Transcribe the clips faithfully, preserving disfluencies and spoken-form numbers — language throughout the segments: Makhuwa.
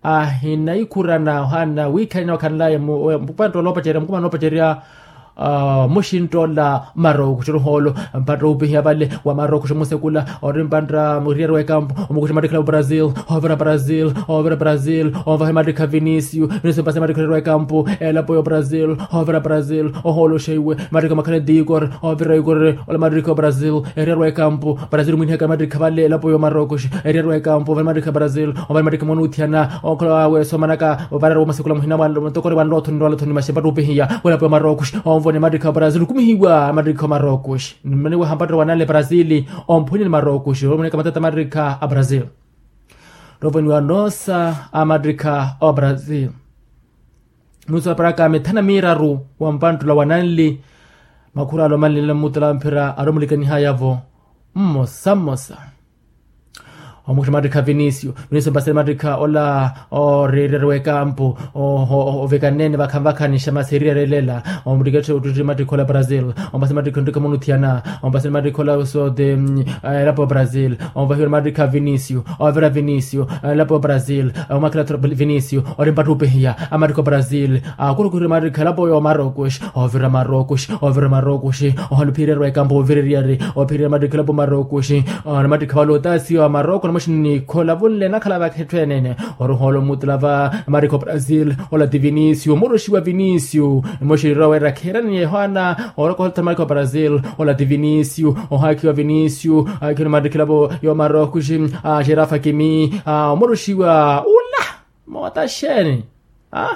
ahinayikhurana ohaana wiikhalana wakhanlaye mupantta oloopacerya mukumana oloopacerya muxintta ola marookuxi oruhoolo. Mpatta oopihiya vale wa marookuxi omusekula ori mpantta muriyari w'ekampu omukuxa mattikhala wa brazil. Oovira brazil oovira brazil onvaha mattikha vinisiu vinisiu mpasi mattikha oriyari w'ekampu elapo yo brazil. Oovira brazil ohooloxa iwe mattikha omakhala etikor. Oovira ikor ola mattikha o brazil eriyari w'ekampu brazil mwinihaka mattikha vale elapo yo marookuxi eriyari w'ekampu ovale mattikha brazil ovale mattikha monuuthiyana okhala wawe soomanaka ovarari womasekula muhina mutokore wanlothoni nrwalathoni maxepa ttupihiya welapo yo marookuxi onvone mattikha o brazil okumihiwa mattikha o marookuxi. Nmaniwe hampatto wananle brazil omphunye ni marookuxi omoneka matata mattikha a brazil. Rovoniwa noosa a mattikha o brazil nuusa paraka mithana miiraru wa mpanttula wananli makhuralo manlile mmutula mphira aromulikanihayavo mmosa mmosa. Omukuxa mattikha vinisio vinisio mpasele mattikha ola orireriwa ekampu ovikanene vakhanvakhanixa masi eriyari elela. Omuttiketxe ottutti mattikha ola brazil ompasele mattikha onttikha monuthiyana ompasele mattikha ola sote elapo brazil. Onvahiwela mattikha vinisio ovira vinisio elapo brazil omakela vinisio ori mpattupihia amattikha brazil. Akurukuhiri mattikha elapo yo marocos ovira marocos ovira marocos ohaluphirerwa ekampu ovireriyari ophirira mattikha elapo marocos. Namattikha vale otasiyo amaroko namoxini nikhola vunle nakhala vakhetthu enene oruhoolo mmutula va namattikha o brazil ola ti vinisio omuruxiwa vinisio. Emoxini rowa wira kheerani yohana orokohotha namattikha o brazil ola ti vinisio ohaakhiwa vinisio aakhiwa namattikha elapo yo maroko xi axerafa kimi omuruxiwa ula. Moota xeeni a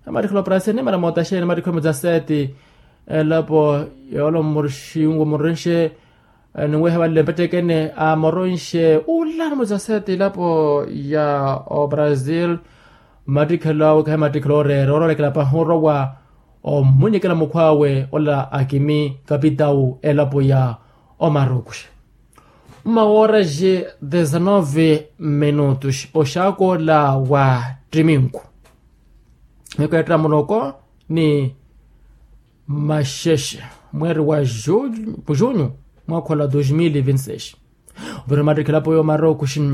namattikha lo brazil nimana moota xeeni namattikha omudzaseti elapo yoolo mmuruxingu murenxe ninweha vanle mpettekene amoronxe ula namudzaseti elapo ya o brazil. Mmattikhelo awe kahi mmattikhelo oreera oroolekela pahi orowa omunyekela mukhw'awe ola akimi kapitau elapo ya omarokuxe. Mmawoorexi dezenove minutos oxaakoola wa ttiminku miku ya ttiramuloko ni maxexe mweeri wa junho mwaakhola dos mil e vinti seis. Ovira mattikha elapo yo marokuxi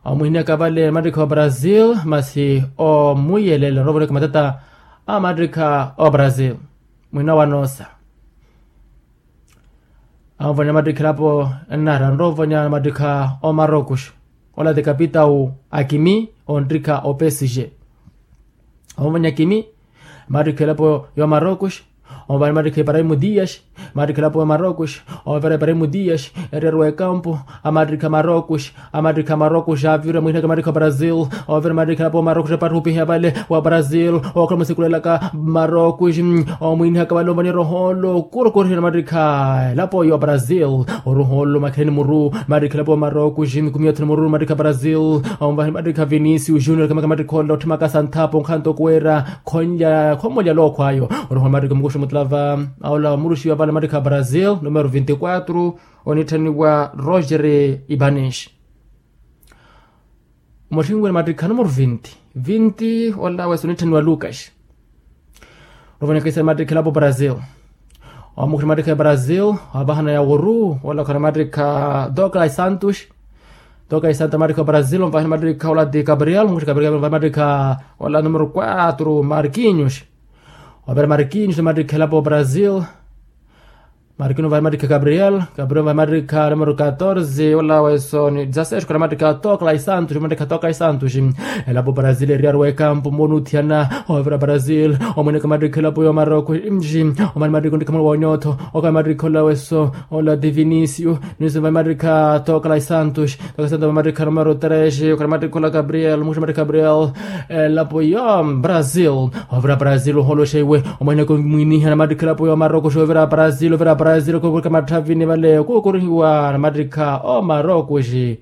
omwiniyaka vale mattikha wa brazil masi omwiyelela roovoneka matata a mattikha o brazil mwina wa noosa. Anvonela mattikha elapo nnara nroovonela mattikha o marocos ola ti kapitau akimi onttikha o psg. Anvonela akimi mattikha elapo yo marocos. Anvonela mattikha ibrahimo dias mattikha elapo yo marocos. Anvonela ibrahimo dias eriyari w'ekampu amattikha marocos amattikha maroko xaavira mwinaka mattikha brazil. Ovira mattikha elapo maroko xapattupiha vale wa brazil okhala musikulalaka maroko omwinihaka vale omvaniya rohoolo kurukurihina mattikha elapo yo brazil. Orohoolo makheleni muru mattikha elapo maroko ximikumi yothene muru mattikha brazil. Omvahini mattikha vinisi ujunior kamaka mattikha ola otthimaka santhapo nkhanto kuwera khonlya khomolya lookhwayo. Orohoolo mattikha mukuxi mutulava aola muruxiwa vale mattikha brazil numero vinti quatro onitthaniwa roger ibanes. Omutthini wene mattikha numero vinti vinti ola wesa onitthaniwa lucas. Novonekesa mattikha elapo brazil omukhira mattikha ya brazil wavahana ya wuru ola khana mattikha douglas santos. Douglas santos mattikha wa brazil omvahana mattikha ola ti gabriel omukhira gabriel omvahana mattikha ola numero quatro marquinhos. Wavira marquinhos mattikha elapo brazil. Marquinhos vahi mattikha gabriel gabriel vahi mattikha numero catorze ola wesoni dezasseis khana mattikha toka lai santos mattikha toka lai santos. Elapo brazil eriyari w'ekampu monuthiyana ovira brazil omweneka mattikha elapo yo maroko. Omani mattikha ontikha mwana wa onyotho oka mattikha ola weso ola ti vinicio. Nisi vahi mattikha toka lai santos. Toka santos vahi mattikha numero tres oka mattikha ola gabriel muxa mattikha gabriel. Elapo ya brazil ovira brazil oholoxa iwe omweneka omwiniha namattikha elapo ya omarokoxi ovira brazil ovira brazil kukurika matthavini vale kukurihiwa namattikha omarokoxi.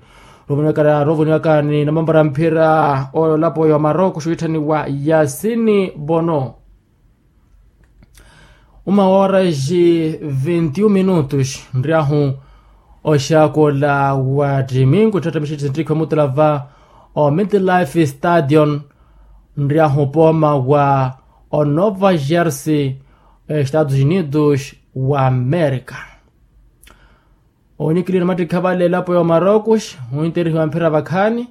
Rovoniwaka rovoniwaka ni namambara mphira olapo ya omarokoxi witthaniwa yasini vono. Uma horas vinti un minutos nriahu oxakola wa ttimingu ttittamixitti nttikho mutula va o midlife stadion nriahu pooma wa o nova jersey estados unidos wa america. Onikiliwe namattikha vale elapo ya omarocos ointerihiwa mphira vakhaani.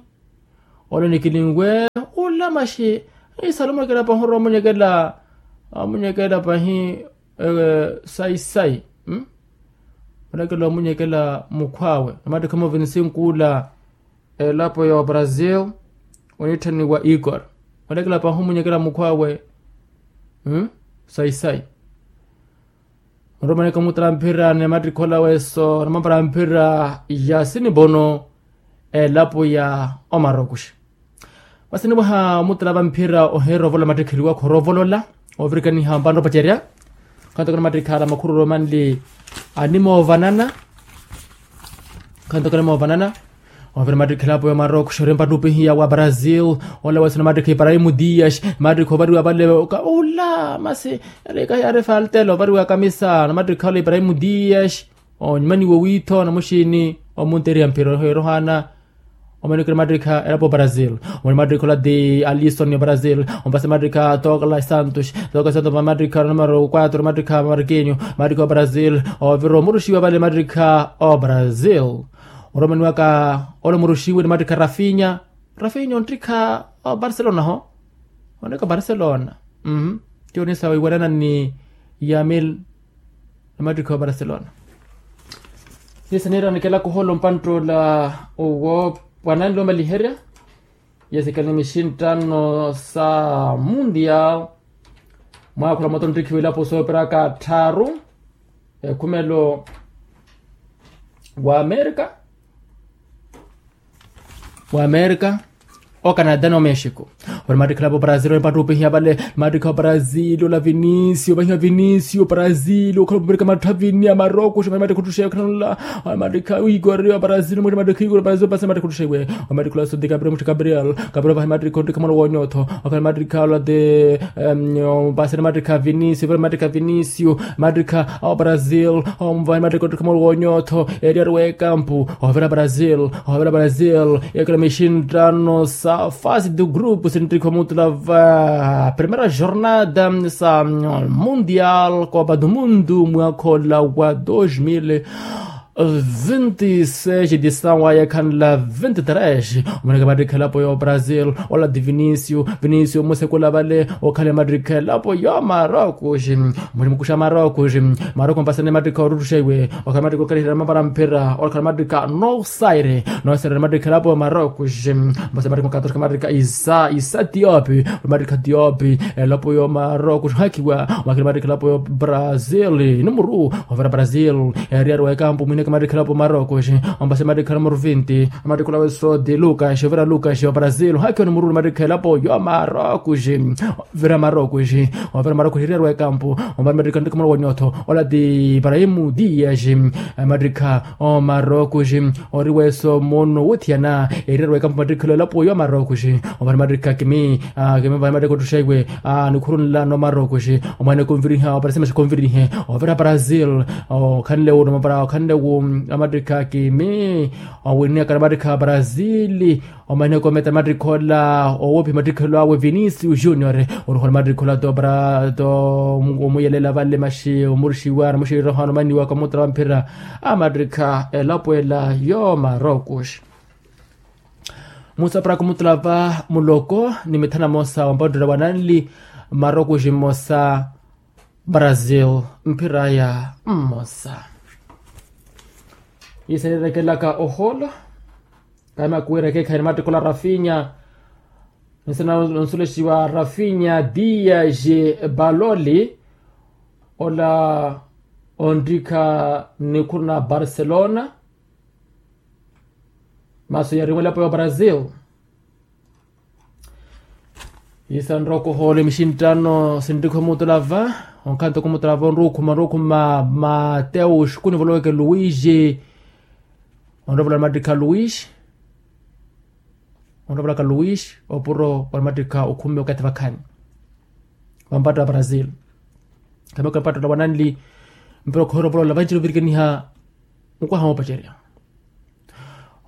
Ole onikilinwe Maxi, isalu omwekelapa ohoro omunyekela omunyekela pahi. Sayi sayi. Onekela omunyekela mukhwawe namattikha movinisi nkuula. Elapo ya obrasil onitthaniwa igor. Onekela pahi omunyekela mukhwawe. Sayi sayi. Onromaneka omutala mphira ni mattikha olaweso namapala mphira ya sinibono. Elapo ya omarokuxi. Masi nipwaha omutala va mphira ohiira ovolola mattikha eriwa khoroovolola. Ovirikaniha mpantta opacerya. Khanto kana mattikha ala makhururu manli animoovanana. Khanto kana moovanana. Ovira mattikha elapo ya omarokuxi ori mpattupihiya wa brasil. Ola wesana mattikha ibrahim dias. Mattikha ovariwa vale ka ula masi. Yari ka yari faltela ovariwa kamisa na mattikha ola ibrahim dias. Onyumaniwa owiitho na muxiini omunteriya mphira ohiira ohaana. Omaniko ni mattikha elapo brasil. Omani mattikha ola ti alison ya brasil. Ompase mattikha tokla santos. Tokla santos mattikha numero quatro mattikha markinho. Mattikha obrasil. Ovira omuruxiwa vale mattikha obrasil. Oromaniwaka ola omuruxiwe ni mattikha rafinya. Rafinya onttikha obarcelona ho. Oneka barcelona. Ti onisa wiiwanana ni yamil. Namattikha obarcelona. Yesaneera nikela kuhola ompanttoola owo. Wananle omaliherya. Yesikale mixinttano sa mundial. Mwaakhula moto nttikhiwa ilapo soopiraka tthaaru. Ekhumelo wa amerika. Wa amerika. Ocanada no mexico. Ori mattikha elapo brasil ori pattupihiya vale. Mattikha obrasil ola vinicio vahiwa vinicio brasil okhala opumirika mattha vini a maroko ximani mattikha ottuxeiwe khananula. Mattikha igor ya brasil mwiri mattikha igor brasil pasi mattikha ottuxeiwe. Wa mattikha ola sodi gabriel mutti gabriel. Gabriel vahi mattikha ottikha mwana wonyotho. Okhala mattikha ola de. Pasi ni mattikha vinicio vale mattikha vinicio. Mattikha a obrasil. Omvahi mattikha ottikha mwana wonyotho. Eriyari wekampu. Ovira brasil. Ovira brasil. Ekela mixinttano sa fase do grupo sinttikha omutula va primera jornada sa mundial copa do mundo mwakha ola wa dos mil vinti seis edisawa yekhanla vinti tres. Omaneka mattikha elapo ya obrasil. Ola ti vinicio vinicio musekula vale. Okhala mattikha elapo ya marokuxi. Mulimukuxa marokuxi. Marokuxi mpasane mattikha oruttuxeiwe. Okhala mattikha okaliherya mapara mphira okhala mattikha nosaire. Nosaire mattikha elapo ya marokuxi. Mpasa mattikha okatorka mattikha isa isa tiopi. Mattikha tiopi. Elapo ya marokuxi hakiwa. Mwakhala mattikha elapo ya brasil. Numuru. Ovira brasil. Eriyari wekampu mwineke mattikha elapo ya marokuxi. Ompasa mattikha numuru vinti. Mattikha olaweso ti lukaxi ovira lukaxi wa brasil hakiwa numuru mattikha elapo ya marokuxi. Vira marokuxi. Ovira marokuxi eriyari wekampu. Omani mattikha nttikha mwana wonyotho. Ola ti ibrahim dias. Mattikha omarokuxi. Ori weso mono wothiyana. Eriyari wekampu mattikha elapo ya marokuxi. Omani mattikha kimi. Kimi vahi mattikha ottuxeiwe. Nikhurunla no marokuxi. Omani konviriha oparasima xikonvirihe. Ovira brasil. Okhanle wu nomapara okhanle wu. Amattikha kimi. Owiniyaka namattikha brasil. Omaniheko ometa mattikha ola owoophi mattikha elo awe vinicio junior. Oruhola mattikha ola to para to omuyelela vale maxi omuruxiwa namuxiwira ohana omaniwaka omutara wa mphira. A mattikha elapo ela yo marokuxi. Musa paraka omutara va muloko ni mithana mosa wa mpattola wa nanli. Marokuxi mmosa. Brasil mphiraya mmosa. Isarerekelaka ohoolo. Kahi makuwira ekeekhayi ni mattikha ola rafinya. Nsina nsulexiwa rafinya dias baloli. Ola onttikha nikhuru na barcelona. Masu yariwa elapo ya brasil. Isanrokohoole mixinttano sinttikha omutulava. Onkhanto khumutulava onrukhuma onrukhuma mateo xukuni voloweke luwiji. Onrovola mattikha luwiji. Onrovolaka luwiji opuro wa mattikha okhumi okathi vakhani. Wa mpatta wa brasil. Khameka mpatta ola wananli. Mpira okhoyera ovolola vanci ovirikaniha. Nkwaha moopacerya.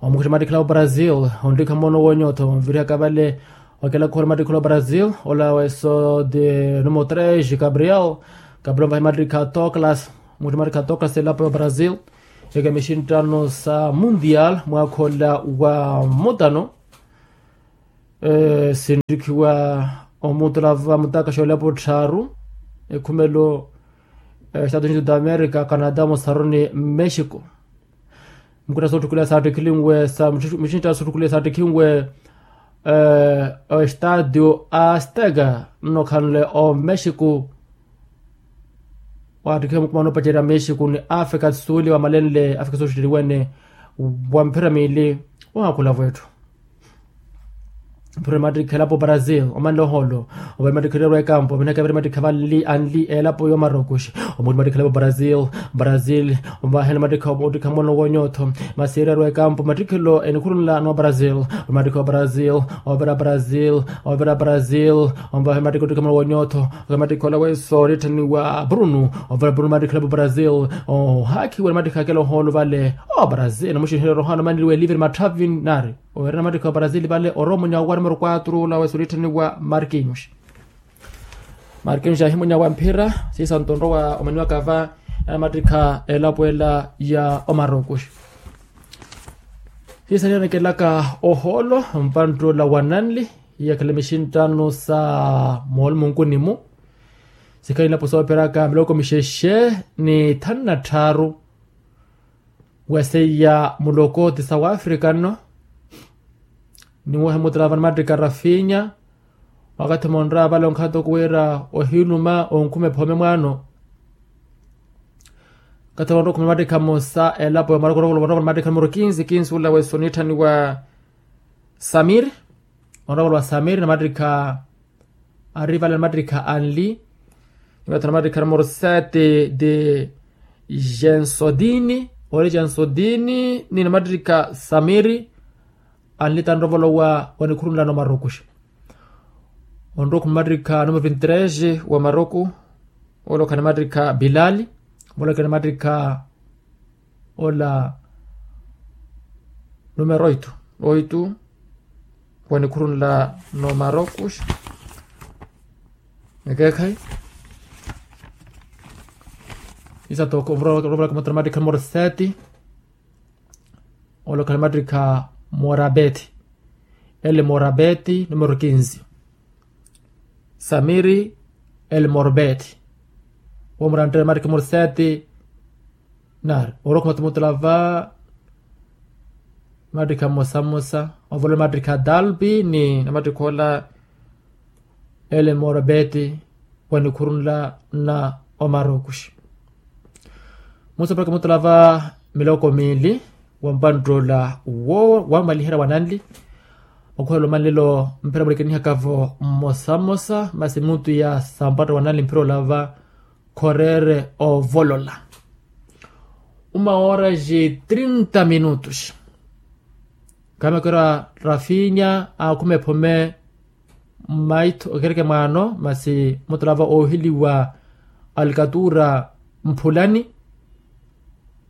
Omukuxa mattikhala wa brasil. Onttikha mono wonyotho onvirihaka vale. Okela khora mattikhala wa brasil ola weso de numero tres gabriel. Gabriel vahi mattikha toklas. Mukuxa mattikha toklas elapo ya brasil. Eka mixinttano sa mundial mwakha ola wa mutano. Sinttikhiwa omutula va mutakaxa olepo tthaaru, ekhumelo, estado unido da america, canada, mosaroni, mexico. Mukina sootthukuliha saattikhilinwe sa mixintta sootthukuliha saattikhinwe, estadio azteka nnokhanle omexico. Waattikhiwa mukumano opacerya mexico ni africa do sul wamalenle africa do sul ttiwene wa mphira miili. Waakhula vwetthu mphira mattikha elapo brazil omanle ohoolo. Ovale mattikha ererwa ekampo vinaka viri mattikha vanli anli elapo yo marokuxi. Omuti mattikha elapo brazil, brazil. Ovahela mattikha omutikha mono wonyotho masi ererwa ekampo mattikhelo enikhurunla no brazil. Mattikha wa brazil, ovira brazil, ovira brazil. Omvahe mattikha otikha mono wonyotho. Mattikha ola weso oritthaniwa bruno. Ovira bruno mattikha elapo brazil. Ohakhiwa ni mattikha akela ohoolo vale. O brazil namuxinherya erohano maniriwe livre matthavi nari. Owerena mattikha wa brazil vale orowa omunya wa numero quatro ola wesi onitthaniwa marquinhos. Marquinhos ahimunya wa mphira siisanto onrowa omaniwaka va. Ena mattikha elapo ela ya omarokuxi. Siisanira nikelaka ohoolo mpantt'ola wa nanli. Iyakhala mixinttano sa moolumunkuni-mu. Sikhala ilapo sooperaka miloko mixexe ni thanu na tthaaru. Weseiya muloko ti sawa africa nno. Niwohe mutalava ni mattikha rafinya. Wakathi monra vale onkhato kuwira ohiiluma onkhuma ephome mwaano. Kathi monra okhuma mattikha mosa elapo ya maroko rokolovana mattikha numero kinsi kinsi ula wesi onitthaniwa samir. Onra vale wa samir na mattikha ari vale na mattikha anli. Niwatha na mattikha numero sete de jensodini ori jensodini ni na mattikha samiri. Anli tanrovolowa wanikhurunla no marokuxi. Onroku mattikha numero vinti tres wa maroku. Olokhani mattikha bilali. Olokhani mattikha ola numero oito oito. Wanikhurunla no marokuxi. Ekeekhayi isatoko ovura ovura kamatara mattikha numero sete. Olokhani mattikha morabeti. Ele morabeti numero kinsi. Samiri. Ele morabeti. Womurantteya mattikha numero sete. Nari orokha otumutulava. Mattikha mmosa mmosa. Ovolola mattikha dalpi ni na mattikha ola. Ele morabeti. Wanikhurunla na omarokuxi. Musa paraka mutulava miloko miili. Wa mpantt'ola wo wamaliherya wa nanli. Okhuhela omanlelo mphira mulikanihaka-vo mmosa mmosa masi mutu ya sampatta wa nanli mphira olava. Khorere ovolola uma oraxi trinta minutos. Khamakera rafinya akhuma ephome. Mmaitho okereke mwaano masi mutulava oohiliwa alkatura mphulani.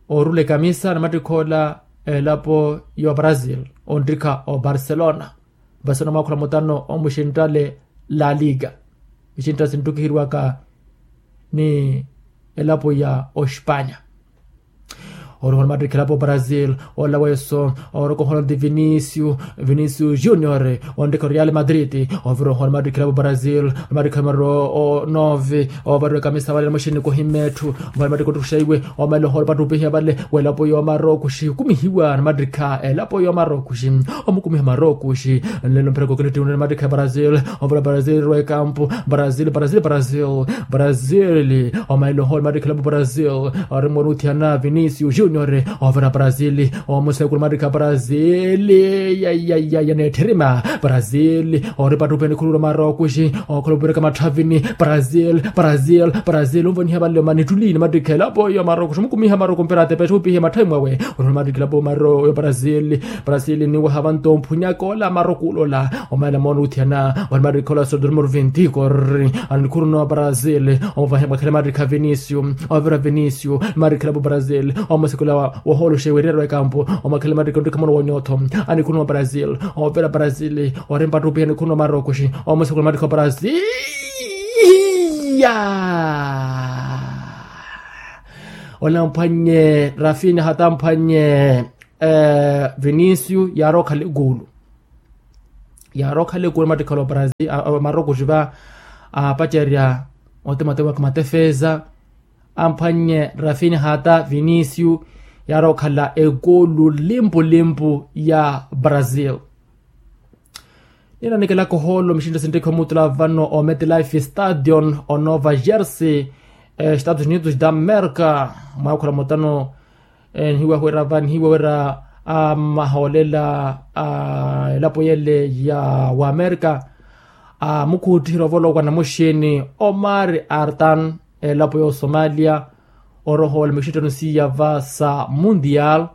Oorula ekamisa na mattikha ola elapo ya brazil. Onttikha o barcelona. Barcelona mwaakhula mutano omuxinttale la liga. Ixinttale sinttukiheriwaka ni elapo ya ospanya. Oroha onimattikha elapo brazil. Ola weso oroka ohola onti vinicio. Vinicio junior. Onttikha real madrid. Ovira ohola onimattikha elapo brazil. Onimattikha numero nove. Ovarira ekamisa vale namuxinni kohimetthu. Vale onimattikha ottukuxa iwe. Omeela ohola opattupihiya vale welapo yomarokuxi okumihiwa onimattikha elapo yomarokuxi. Omukumiha marokuxi. Nlelo mphira kokele ttiwene onimattikha brazil. Ovira brazil erwa ekampu. Brazil brazil brazil. Brazil. Omaila ohola onimattikha elapo brazil. Ori mmoruthiyana vinicio junior. Ovira brazil. Omusekula onimattikha brazil. Yayayaya neetthirima. Brazil. Ori pattupiha nikhulula marokuxi. Okhola opireka matthavini. Brazil brazil brazil onvoniha vanle omani ttuli onimattikha elapo yomarokuxi omukumiha maroku mpira atepexupihe matthavi mwawe. Ori onimattikha elapo maro yo brazil. Brazil niwaha vanto omphunyaka ola maroku ulola. Omaila moona othiyana onimattikha ola sodormor vinti kori. Anikhuruna wa brazil. Omuvahe mwakhele mattikha vinicio. Ovira vinicio. Mattikha elapo brazil. Omusekula wohooloxa ewererwa ekampu. Omakhele mattikha onttikha mono wonyotho. Anikhuruna wa brazil. Ovira brazil. Ori mpattupiha anikhuruna wa marokuxi. Omusekula mattikha wa brazil. Olamphwannye rafinya hatamphwannye. Vinicio yaari okhala ekuulu. Yaari okhala ekuru mattikhala obrasil, maroko xiva apacerya otematema matefeza amphwannye rafinha ta vinisiu. Yaari okhala ekulu limpulimpu ya brasil. Ninanikela kohoolo mixintta sinttekhi omutula vano ometlife stadion onova jersey, estados unidos da america. Mwaakhulamotano nihiwa wira va nihiwa wira amahoolela a elapo yele ya wamerika amukhuuttiherya ovolokwa namuxini omar artan elapo ya osomalia. Orohoola mixinttano siiya va sa mundial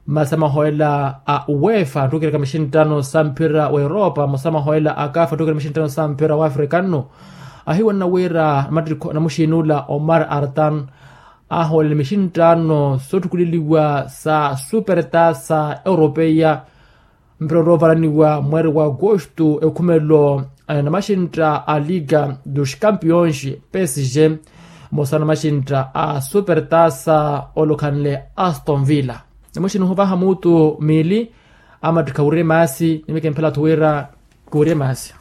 masi amahoolela a uefa attukereka mixinttano sa mphira wa europa masi amahoolela a kafa attukereka mixinttano sa mphira wa afrikano. Ahiwanna wira namuxini ula omar artan ahoolele mixinttano soottukuleliwa sa superta sa europeia mpira orovalaniwa mweeri wa agosto ekhumelo namaxintta a liga dos campions psg mmosa namaxintta a superta sa olukhanle aston villa. Namuxini ohuvaha mutu miili amattikha wurye maasi nimikemphelathu wira kuurye maasi.